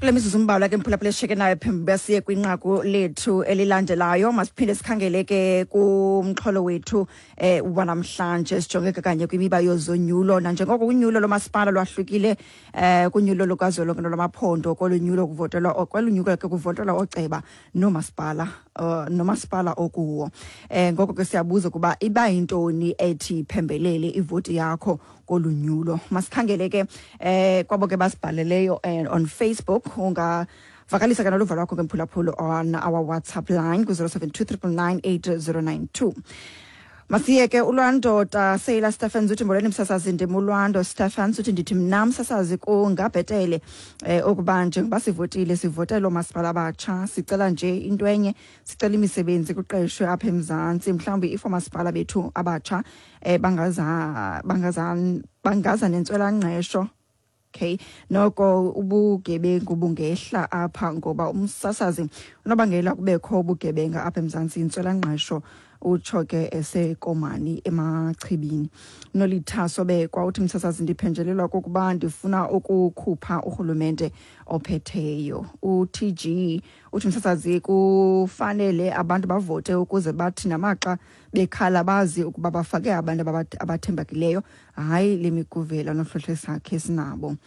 Kule mizuzu mbalwa ke mphulaphula esishiyeke nayo phambi uba siye kwinqaku lethu elilandelayo, masiphinde sikhangele ke kumxholo wethu wanamhlanje, sijonge ke kanye kwimiba yozonyulo. Nanjengoko unyulo lomasipala lwahlukile kunyulo lukazwelonke nolwamaphondo, kolu nyulo kuvotelwa, kwelu nyulo ke kuvotelwa ooceba noomasipala, nomasipala okuwo. Ngoko ke siyabuza ukuba iba yintoni ethi iphembelele ivoti yakho kolu nyulo. Masikhangele ke kwabo ke basibhaleleyo on Facebook. Ungavakalisa ke noluvo lwakho ke mphulaphula on our WhatsApp line ku-072 999 8092. Masiye ke uLwando Taseyila Stephens uthi, "Molweni msasazi, ndim uLwando Stephens." Uthi, "Ndithi mna msasazi kungabhetele ukuba njengoba sivotile sivotele oomasipala abatsha. Sicela nje into enye, sicela imisebenzi kuqeshwe apha eMzantsi. Mhlawumbi if oomasipala bethu abatsha bangaza nentswelangqesho, okay, noko ubugebengu bungehla apha, ngoba umsasazi unobangela kubekho ubugebenga apha eMzantsi intswelangqesho." Utsho ke eseKomani eMachibini. Nolithaso Bekwa uthi, "Msasazi, ndiphenjelelwa kokuba ndifuna ukukhupha urhulumente ophetheyo." U-TG uthi, "Msasazi, kufanele abantu bavote ukuze bathi namaxa bekhala bazi ukuba bafake abantu abathembakileyo, hayi le miguvela nohlohle sakhe sinabo."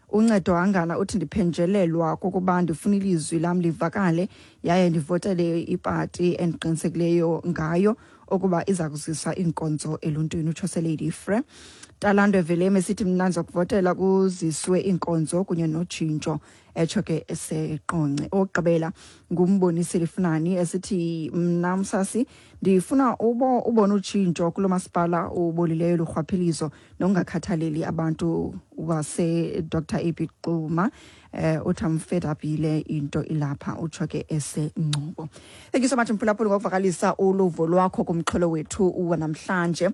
Uncedo Hangana uthi, "Ndiphenjelelwa kokuba ndifuna ilizwi lam livakale yaye ndivotele ipati endiqinisekileyo ngayo ukuba iza kuzisa iinkonzo eluntwini." Utsho seLady Frere. Talando Velem esithi, "Mna ndizokuvotela kuziswe iinkonzo kunye notshintsho," etsho ke eseQonce. Okugqibela nguMbonisi Lifunani esithi, "Mna msasi ndifuna ubona utshintsho kulo masipala ubolileyo lurhwaphilizo nokungakhathaleli abantu wase-Dr AB Xuma." Uthi, "I'm fed up yile into ilapha." Utsho ke eseNgcobo. Thank you so much mphulaphuli ngokuvakalisa uluvo lwakho kumxholo wethu wanamhlanje.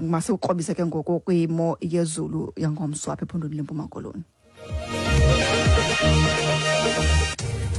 Masiwukrobise ke ngoku kwimo yezulu yangomso apha ephondweni leMpuma Koloni.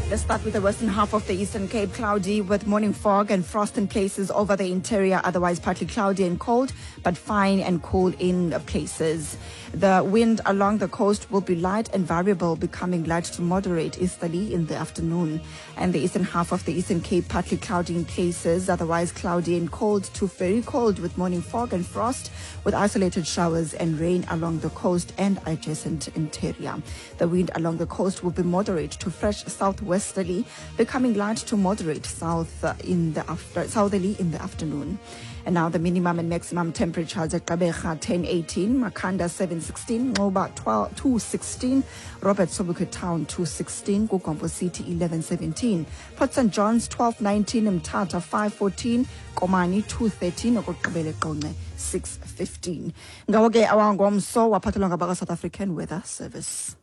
Let's start with the western half of the Eastern Cape. Cloudy with morning fog and frost in places over the interior. Otherwise, partly cloudy and cold, but fine and cool in places. The wind along the coast will be light and variable, becoming light to moderate easterly in the afternoon. And the eastern half of the Eastern Cape, partly cloudy in places, otherwise cloudy and cold to very cold with morning fog and frost, with isolated showers and rain along the coast and adjacent interior. The wind along the coast will be moderate to fresh southwesterly, becoming light to moderate south in the after, southerly in the afternoon. And now the minimum and maximum temperatures: at Gqeberha 1018, Makhanda 716, Nxuba 12, 216, Robert Sobukwe Town 216, KuGompo City 1117, Port St John's 1219, Mthatha 514, Komani 213, okokugqibela eQonce 615. Ngawo ke awangomso waphathelwa ngabaka South African Weather Service.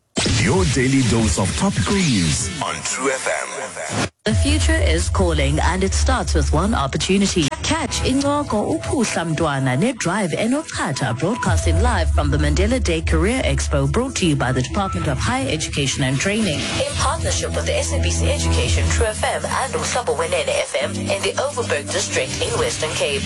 Your daily dose of topical news on True FM. The future is calling, and it starts with one opportunity. Catch Incoko Uphuhla Mntwana ne-Drive Enochatha, broadcasting live from the Mandela Day Career Expo, brought to you by the Department of Higher Education and Training in partnership with the SABC Education, True FM and Umhlobo Wenene FM in the Overberg District in Western Cape.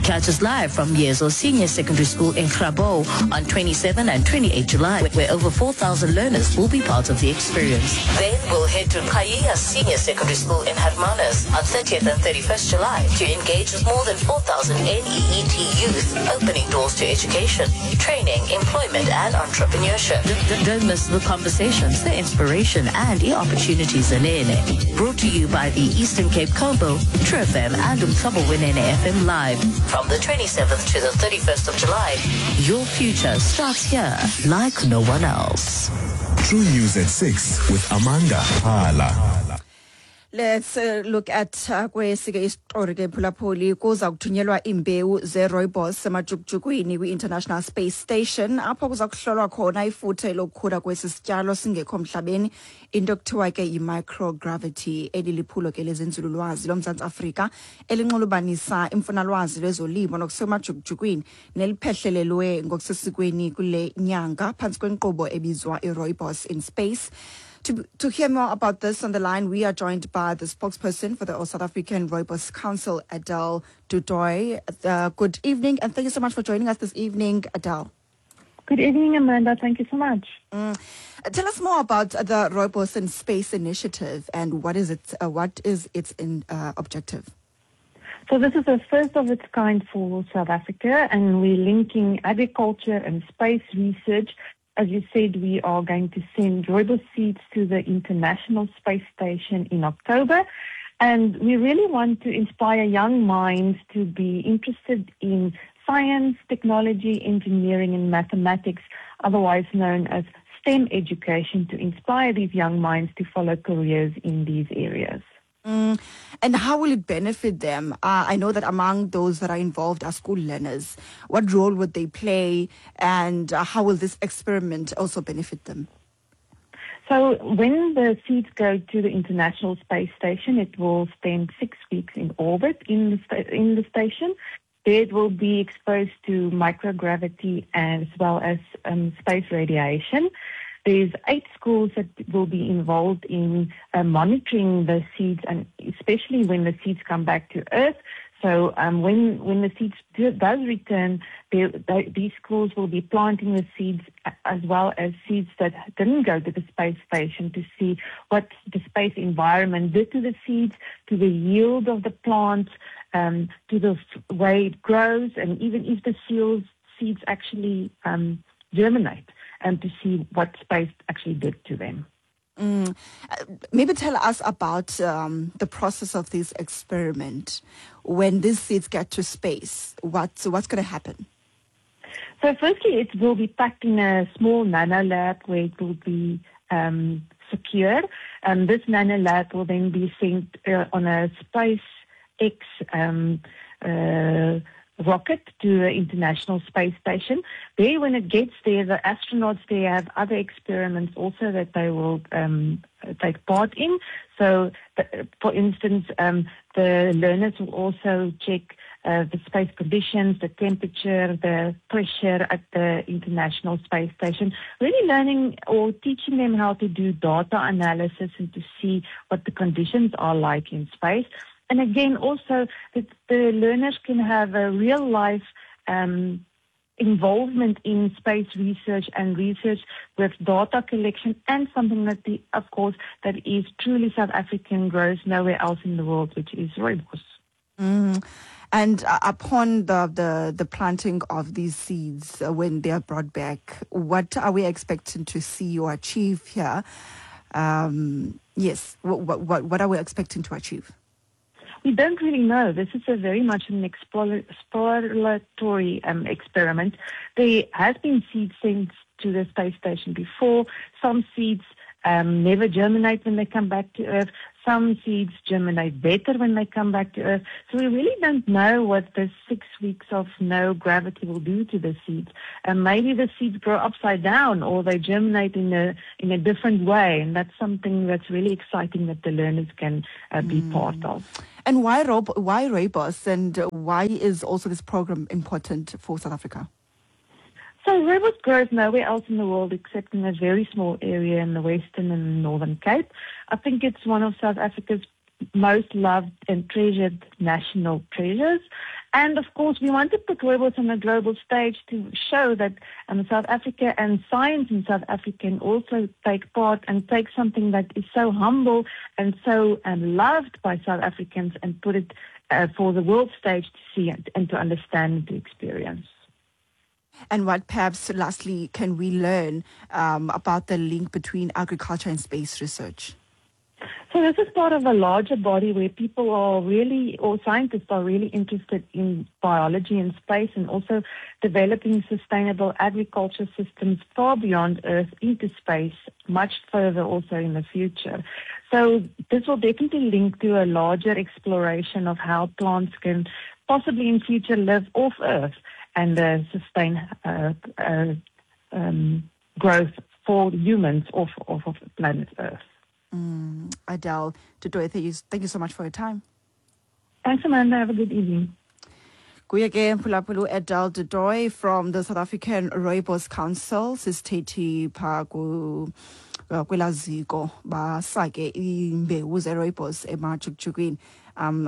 Catch us live from Yezo Senior Secondary School in Grabouw on 27 and 28 July, where over 4,000 learners will be part of the experience. Then we'll head to Qhayiya Senior Secondary School in Hermanus on 30th and 31st July to engage with more than 4,000 NEET youth, opening doors to education, training, employment, and entrepreneurship. Don't miss the conversations, the inspiration, and the opportunities in it. Brought to you by the Eastern Cape Combo, True FM, and Umhlobo Wenene FM Live from the 27th to the 31st of July. Your future starts here like no one else. True News at 6 with Amanda Hala. Let's look at kwesike isitori ke phulaphuli. Kuza kuthunyelwa iimbewu ze-rooibos emajukujukwini kwi-International Space Station, apho kuza kuhlolwa khona ifuthe lokukhula kwesi sityalo singekho mhlabeni, into ekuthiwa ke yi-microgravity. Eli liphulo ke lezenzululwazi loMzantsi Afrika elinxulubanisa imfunalwazi lwezolimo nokusemajukujukwini, neliphehlelelwe ngokusesikweni kule nyanga phantsi kwenkqubo ebizwa i-Rooibos in Space. To hear more about this, on the line, we are joined by the spokesperson for the All South African Rooibos Council, Adele du Toit. Good evening, and thank you so much for joining us this evening, Adele. Good evening, Amanda. Thank you so much. Tell us more about the Rooibos in Space initiative and what is its objective? So this is the first of its kind for South Africa, and we're linking agriculture and space research. As you said, we are going to send rooibos seeds to the International Space Station in October. And we really want to inspire young minds to be interested in science, technology, engineering, and mathematics, otherwise known as STEM education, to inspire these young minds to follow careers in these areas. And how will it benefit them? I know that among those that are involved are school learners. What role would they play, and how will this experiment also benefit them? So when the seeds go to the International Space Station, it will spend 6 weeks in orbit in the station. There it will be exposed to microgravity as well as space radiation. There's 8 schools that will be involved in monitoring the seeds, and especially when the seeds come back to Earth. So when the seeds does return, these schools will be planting the seeds as well as seeds that didn't go to the space station to see what the space environment did to the seeds, to the yield of the plants, to the way it grows, and even if the seeds actually germinate, and to see what space actually did to them. Maybe tell us about the process of this experiment. When these seeds get to space, what's going to happen? So firstly, it will be packed in a small nano lab where it will be secure. This nano lab will then be sent on a SpaceX rocket to the International Space Station. There, when it gets there, the astronauts there have other experiments also that they will take part in. So, for instance, the learners will also check the space conditions, the temperature, the pressure at the International Space Station, really learning or teaching them how to do data analysis and to see what the conditions are like in space. And again, also that the learners can have a real-life involvement in space research and research with data collection, and something that, of course, that is truly South African, grows nowhere else in the world, which is rooibos. And upon the planting of these seeds, when they are brought back, what are we expecting to see or achieve here? Yes, what are we expecting to achieve? We don't really know. This is a very much an exploratory experiment. There has been seeds sent to the space station before. Some seeds never germinate when they come back to Earth. Some seeds germinate better when they come back to Earth. So we really don't know what the 6 weeks of no gravity will do to the seeds. And maybe the seeds grow upside down, or they germinate in a different way. And that's something that's really exciting that the learners can be part of. And why rooibos, and why is also this program important for South Africa? So rooibos grows nowhere else in the world except in a very small area in the Western and Northern Cape. I think it's one of South Africa's most loved and treasured national treasures. And of course, we want to put rooibos on a global stage to show that South Africa and science in South Africa can also take part and take something that is so humble and so loved by South Africans and put it for the world stage to see and to understand and to experience. And what perhaps, lastly, can we learn about the link between agriculture and space research? So this is part of a larger body where people are really, or scientists are really interested in biology and space, and also developing sustainable agriculture systems far beyond Earth into space, much further also in the future. So this will definitely link to a larger exploration of how plants can possibly in future live off Earth and sustain growth for humans off of planet Earth. Adele du Toit, thank you so much for your time. Thanks, Amanda. Have a good evening. Kuye ke mphulaphula Adele du Toit from the South African Rooibos Council, sisithethi pha Kwelaa ziko basake iimbewu zerooibos emajukujukwini.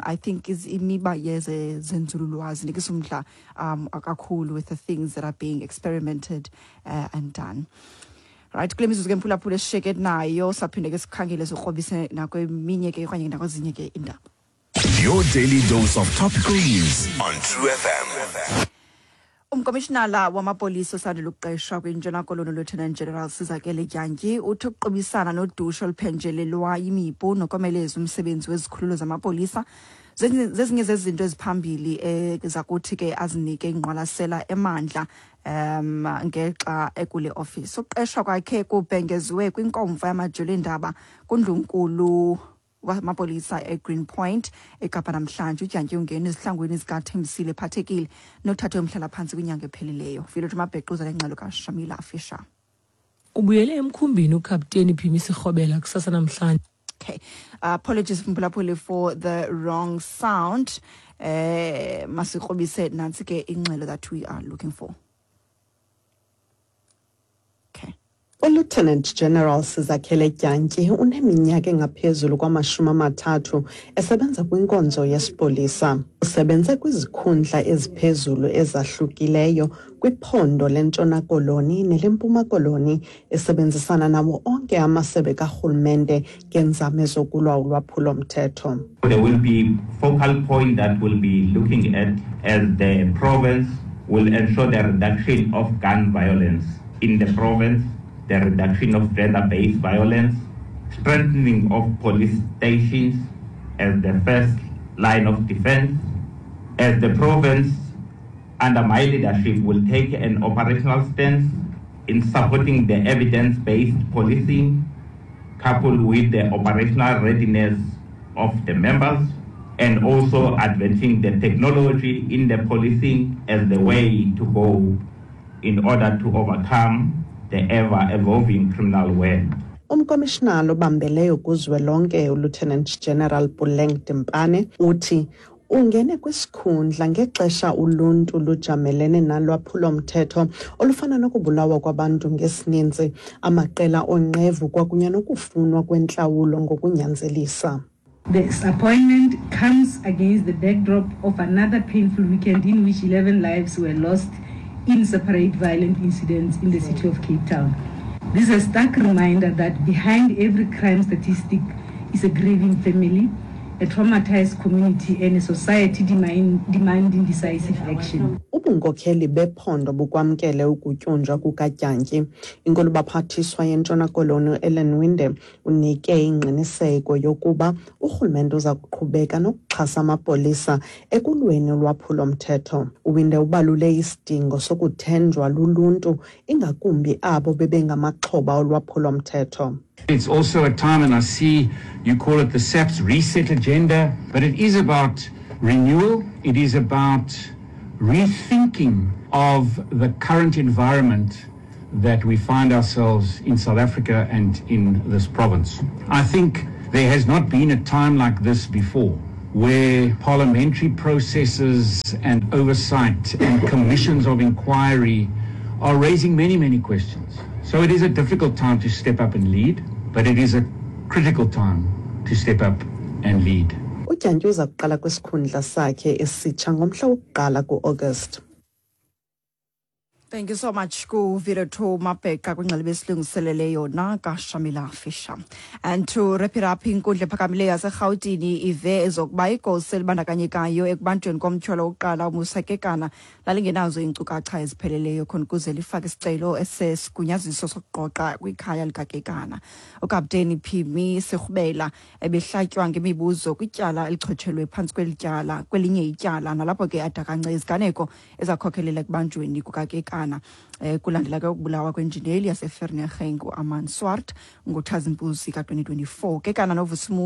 I think is imiba yezenzululwazi nikisa umdla kakhulu with the things that are being experimented and done. Right, kule mizuzu ke, mphulaphula, esishiyeke nayo, saphinde ke sikhangele, sikrobise nakweminye ke okanye nakwezinye ke iindaba. Your daily dose of topical news on True FM. Umkomishinala wamapolisa osandula ukuqeshwa kwiNtshona Koloni, Lieutenant General Sizakele Dyantyi, uthi ukuqubisana nodushe oluphenjelelwa yimipu nokomeleza umsebenzi wezikhululo zamapolisa zezinye zezinto eziphambili zakuthi ke azinike ingqwalasela emandla ngexa ekule ofisi. Ukuqeshwa kwakhe kubhengeziwe kwinkomfa yamajelo eendaba kundlunkulu wamapolisa eGreen Point eKapa namhlanje. UDyantyi ungena ezihlangwini zikaThembisile Phathekile nothathe umhlalaphantsi kwinyanga ephelileyo. Vilot Mabhequza lengxelo kaShamila Fisher. Ubuyele emkhumbini uKapteni Phimi Sirhobela kusasa namhlanje. Okay, apologies, mphulaphuli, for the wrong sound. Masikrobise nantsi ke ingxelo that we are looking for. Okay. ULieutenant General Sizakhele Dyantyi uneminyaka engaphezulu kwama-30 esebenza kwinkonzo yesipolisa. Usebenze kwizikhundla eziphezulu ezahlukileyo kwiphondo leNtshona Koloni neleMpuma Koloni, esebenzisana nawo onke amasebe karhulumente ngeenzame zokulwa ulwaphulomthetho. There will be focal point that we'll be looking at as the province will ensure the reduction of gun violence in the province, the reduction of gender-based violence, strengthening of police stations as the first line of defense. As the province, under my leadership, will take an operational stance in supporting the evidence-based policing, coupled with the operational readiness of the members, and also advancing the technology in the policing as the way to go in order to overcome the ever-evolving criminal world. Umkomishinala obambeleyo kuzwelonke, uLieutenant General Puleng Dimpane, uthi ungene kwisikhundla ngexesha uluntu lujamelene nalwaphulomthetho olufana nokubulawa kwabantu ngesininzi, amaqela oonqevu kwakunye nokufunwa kwentlawulo ngokunyanzelisa. This appointment comes against the backdrop of another painful weekend in which 11 lives were lost in separate violent incidents in the city of Cape Town. This is a stark reminder that behind every crime statistic is a grieving family, a traumatized community, and a society demanding decisive action. Ubunkokheli bephondo bukwamkele ukutyunjwa kukaDyantyi. Inkulubaphathiswa yeNtshona Koloni, Ellen Winde, unike ingqiniseko yokuba urhulumente uza kuqhubeka nokuxhasa amapolisa ekulweni ulwaphulomthetho. UWinde ubalule isidingo sokuthenjwa luluntu, ingakumbi abo bebengamaxhoba olwaphulomthetho. It's also a time, and I see you call it the SAPS reset agenda, but it is about renewal. It is about rethinking of the current environment that we find ourselves in South Africa and in this province. I think there has not been a time like this before where parliamentary processes and oversight and commissions of inquiry are raising many, many questions. So it is a difficult time to step up and lead, but it is a critical time to step up and lead. UDyantyi uza kuqala kwisikhundla sakhe esitsha ngomhla wokuqala ku-August. Thank you so much kuVireto Mabheqa kwingxelo besilungiselele yona kaShamila Fisher. And to wrap it up, inkundla ephakamileyo yaseRhawutini ive ezokuba igosa elibandakanyekayo ekubanjweni komtyholo wokuqala uMusa Kekana lalingenazo iinkcukacha ezipheleleyo khona ukuze lifake isicelo esesigunyaziso sokuqoqa kwikhaya likaKekana. UKapteni Phimi Sirhubela ebehlatywa ngemibuzo kwityala elichotshelwe phantsi kweli tyala kwelinye ityala, nalapho ke adakance iziganeko ezakhokhelela ekubanjweni kukaKekana. Kulandela ke ukubulawa kwenjineli yaseVereeniging uArmand Swart ngoTshazimpuzi ka-2024. Kekana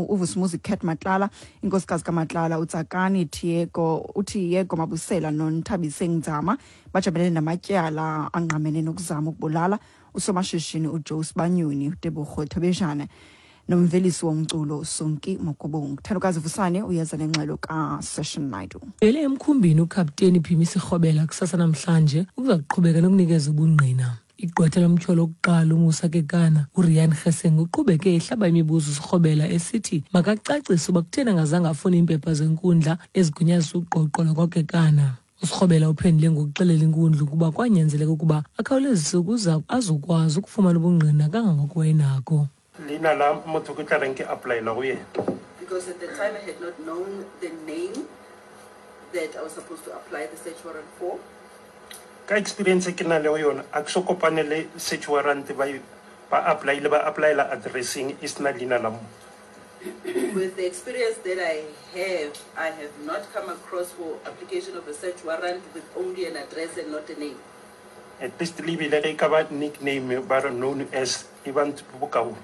uVusimuzi Cat Matlala, inkosikazi kaMatlala uTsakani Tiego, uTiego Mabusela noNthabiseng Nzama bajamelene namatyala angqamene nokuzama ukubulala usomashishini uJoe Sibanyoni, uTebogo Thobejane nomvelisi womculo Sonki Mokobong. Thandokazi Vusane uyeza nengxelo kaSession Naidu. Ubuyele emkhumbini uKapteni Phimi Sirhobela kusasa namhlanje ukuza kuqhubeka nokunikeza ubungqina. Igqwetha lomtyholo wokuqala uMusa Kekana, uRian Hessing, uqhubeke ehlaba imibuzo uSirhobela esithi makacacise uba kutheni angazange afune iimpepha zenkundla ezigunyazisa ugqogqo lwakwaKekana. USirhobela uphendule ngokuxelela inkundla ukuba kwanyanzeleka ukuba akhawulezise ukuze azokwazi ukufumana ubungqina kangangoko wayenako. Leina la motho ke tla reng ke applyela go yena. Because at the time I had not known the name that I was supposed to apply the search warrant for. Ka experience e ke nang le yona, a ke so kopane le search warrant ba ba applyile ba applyela addresseng e sena leina la motho. With the experience that I have, I have not come across for application of a search warrant with only an address and not a name. At least le ebile ge e ka ba nickname ba re known as e ba bokaone.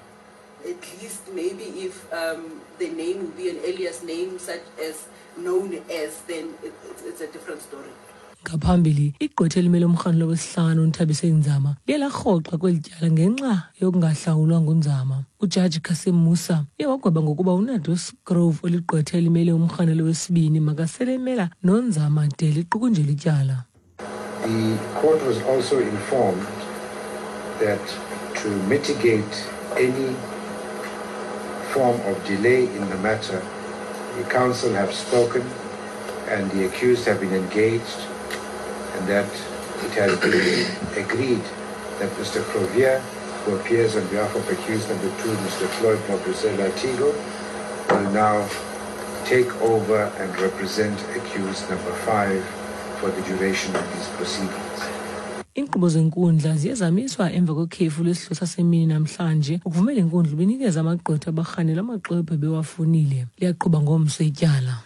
At least maybe if the name will be an alias name such as known as, then it's a different story. Ngaphambili, igqwetha elimele umrhanelwa wesihlanu uNthabiseng Nzama liye larhoxa kweli tyala ngenxa yokungahlawulwa nguNzama. UJaji Cassim Musa uye wagweba ngokuba uNados Grove oligqwetha elimele umrhanelwa wesibini makasele emela noNzama de liqukunjelwe ityala. The court was also informed that to mitigate any form of delay in the matter, the counsel have spoken and the accused have been engaged, and that it has been agreed that Mr. Crovier, who appears on behalf of accused number 2, Mr. Floyd Mabusela Tigo, will now take over and represent accused number 5 for the duration of these proceedings. Iinkqubo zenkundla ziye zamiswa emva kwekhefu lesidlo sasemini namhlanje ukuvumela inkundla ibinikeza amagqwetha abarhanelwa amaxwebhu ebewafunile. Liyaqhuba ngomso ityala.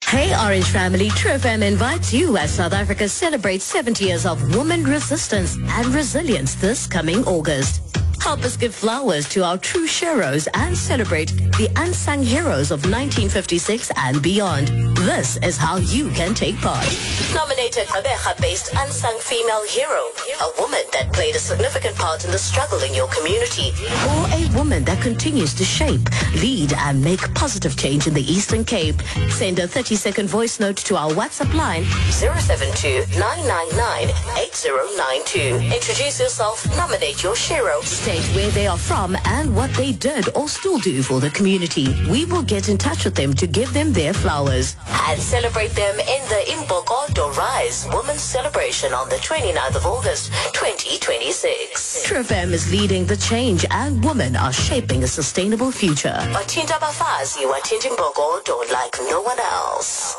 Hey Orange family, True FM invites you as South Africa celebrates 70 years of woman resistance and resilience this coming August. Help us give flowers to our true heroes and celebrate the unsung heroes of 1956 and beyond. This is how you can take part. Nominate a Gqeberha-based unsung female hero, a woman that played a significant part in the struggle in your community, or a woman that continues to shape, lead, and make positive change in the Eastern Cape. Send a 30-second voice note to our WhatsApp line 072-999-8092. Introduce yourself, nominate your shero, state where they are from and what they did or still do for the community. We will get in touch with them to give them their flowers and celebrate them in the Imbokodo Rise Women's Celebration on the 29th of August, 2026. True FM is leading the change and women are shaping a sustainable future. Wathinta abafazi, wathinta imbokodo like no one else.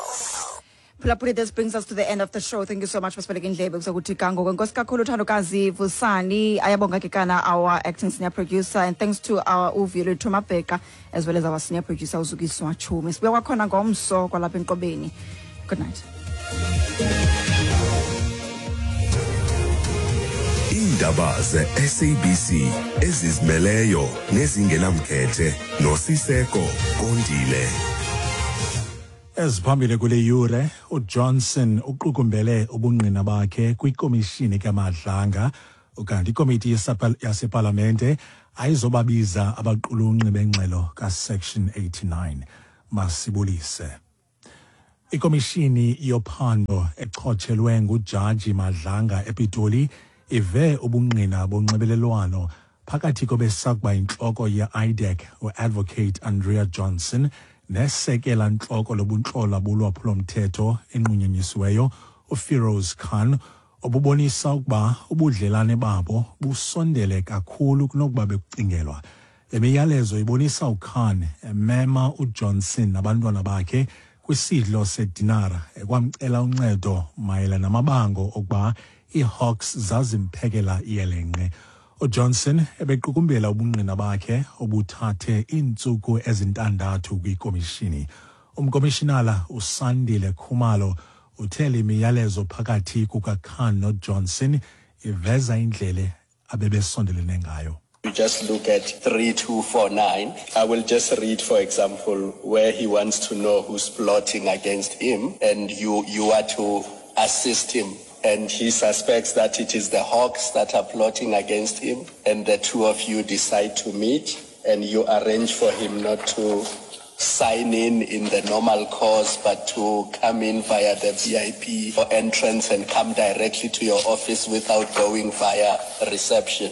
Phulaphuli, this brings us to the end of the show. Thank you so much for sibeleke indlebe kuzokuthi ga ngoku. Enkosi kakhulu Thandokazi Vusani, ayabonga ke kana our acting senior producer, and thanks to our uVuyolwethu Mabheka as well as our senior producer uZukiswa Chumi. Sibuya kwakhona ngomso kwalapha enkqubeni. Good night. Iindaba ze-SABC ezizimeleyo nezingenamkhethe noSiseko Kondile. Eziphambili kule yure, uJohnson uqukumbele ubungqina bakhe kwikomishini kaMadlanga, ukanti ikomiti yasepalamente ayizobabiza abaqulunqi bengxelo kaSection 89. Masibulise. Ikomishini yophando echotshelwe nguJaji Madlanga ePitoli ive ubungqina bonxibelelwano phakathi kobesakuba intloko ye-IDAC uAdvocate Andrea Johnson nesekela ntloko lobuntlola bolwaphulomthetho enqunyanyisiweyo uFiroz Khan, obubonisa ukuba ubudlelane babo busondele kakhulu kunokuba bekucingelwa. Le miyalezo ibonisa uKhan emema uJohnson nabantwana bakhe kwisidlo sedinara ekwamcela uncedo mayela namabango okuba iiHawks zazimphekela iyelenqe. uJohnson ebequkumbela ubungqina bakhe obuthathe iintsuku ezintandathu kwikomishini. Umkomishinala uSandile Khumalo uthe le miyalezo phakathi kukaKhan noJohnson iveza indlela abebesondelene ngayo. You just look at 3249. I will just read, for example, where he wants to know who's plotting against him, and you are to assist him. And he suspects that it is the Hawks that are plotting against him, and the two of you decide to meet, and you arrange for him not to sign in the normal course, but to come in via the VIP entrance and come directly to your office without going via reception.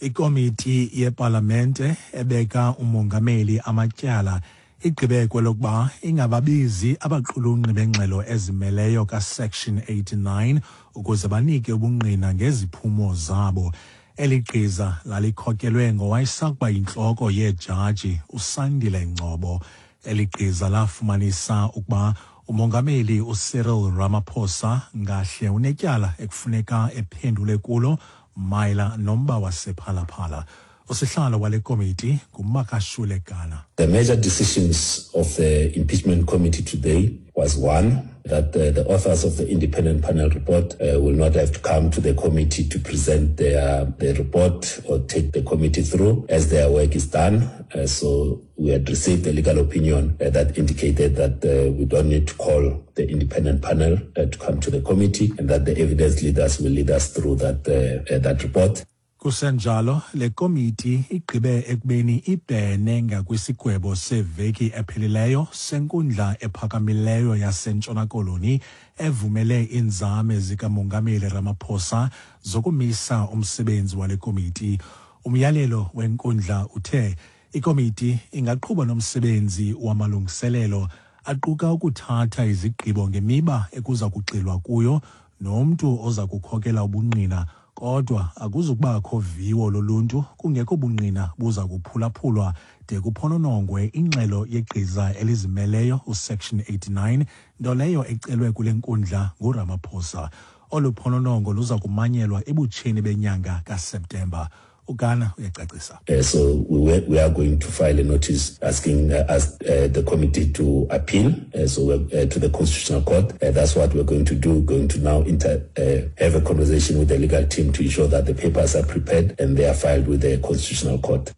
Ikomiti yepalamente ebeka umongameli amatyala igqibe kwelokuba ingababizi abaqulunqi bengxelo ezimeleyo kaSection 89 ukuze banike ubungqina ngeziphumo zabo. Eli gqiza lalikhokelwe ngowayesakuba yintloko yeejaji uSandile Ngcobo. Eli gqiza lafumanisa ukuba umongameli uCyril Ramaphosa ngahle unetyala ekufuneka ephendule kulo mayela nomba wasePhalaphala. Usihlalo wale komiti nguMakashule Gana. The major decisions of the impeachment committee today was one, that the authors of the independent panel report will not have to come to the committee to present their report or take the committee through as their work is done. So we had received a legal opinion that indicated that we don't need to call the independent panel to come to the committee, and that the evidence leaders will lead us through that report. Kusenjalo, le komiti igqibe ekubeni ibhene ngakwisigwebo seveki ephelileyo senkundla ephakamileyo yaseNtshona Koloni evumele iinzame zikaMongameli Ramaphosa zokumisa umsebenzi wale komiti. Umyalelo wenkundla uthe ikomiti ingaqhuba nomsebenzi wamalungiselelo aquka ukuthatha izigqibo ngemiba ekuza kugxilwa kuyo nomntu oza kukhokela ubungqina, kodwa akuzukubakho viwo loluntu kungekho bungqina buza kuphulaphulwa de kuphononongwe ingxelo yegqiza elizimeleyo uSection 89, nto leyo ecelwe kule nkundla nguRamaphosa. Olu phononongo luza kumanyelwa ebutsheni benyanga kaSeptemba. uGana uyacacisa. So we are going to file a notice asking the committee to appeal to the Constitutional Court. That's what we're going to do. We're going to now have a conversation with the legal team to ensure that the papers are prepared and they are filed with the Constitutional Court.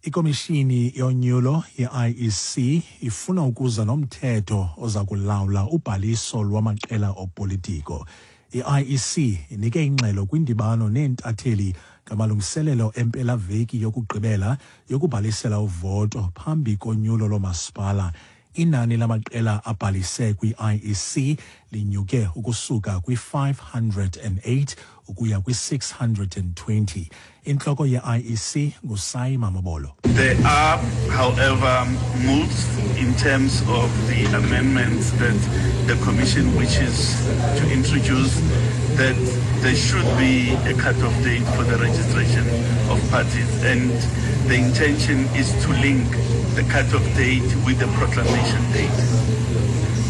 Ikomishini yonyulo ye-IEC ifuna ukuza nomthetho oza kulawula ubhaliso lwamaqela opolitiko. I-IEC inike ingxelo kwindibano neentatheli ngamalungiselelo empelaveki yokugqibela yokubhalisela uvoto phambi konyulo loomasipala. Inani lamaqela abhalise kwi-IEC linyuke ukusuka kwi-508 ukuya kwi-620. Intloko ye-IEC nguSai Mamabolo. There are, however, moves in terms of the amendments that the Commission wishes to introduce, that there should be a cutoff date for the registration of parties, and the intention is to link the cutoff date with the proclamation date.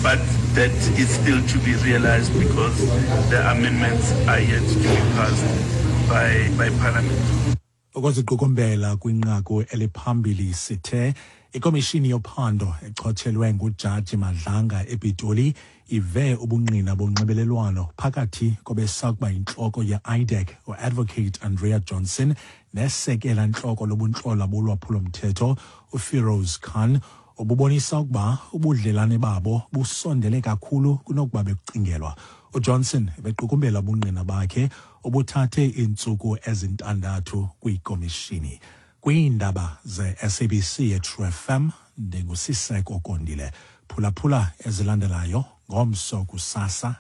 But that is still to be realized because the amendments are yet to be passed by Parliament. Ukuziqukumbela kwinqaku eliphambili, sithe ikomishini yophando echotshelwe nguJaji Madlanga ePitoli ive ubungqina bonxibelelwano phakathi kobesakuba yintloko ye-IDAC uAdvocate Andrea Johnson nesekela ntloko lobuntlola bolwaphulomthetho uFiroz Khan, obubonisa ukuba ubudlelane babo busondele kakhulu kunokuba bekucingelwa. UJohnson ebequkumbela ubungqina bakhe obuthathe iintsuku ezintandathu kwikomishini. Kwiindaba ze-SABC yeTrue FM, ndinguSiseko Kondile. Phulaphula ezilandelayo ngomso kusasa.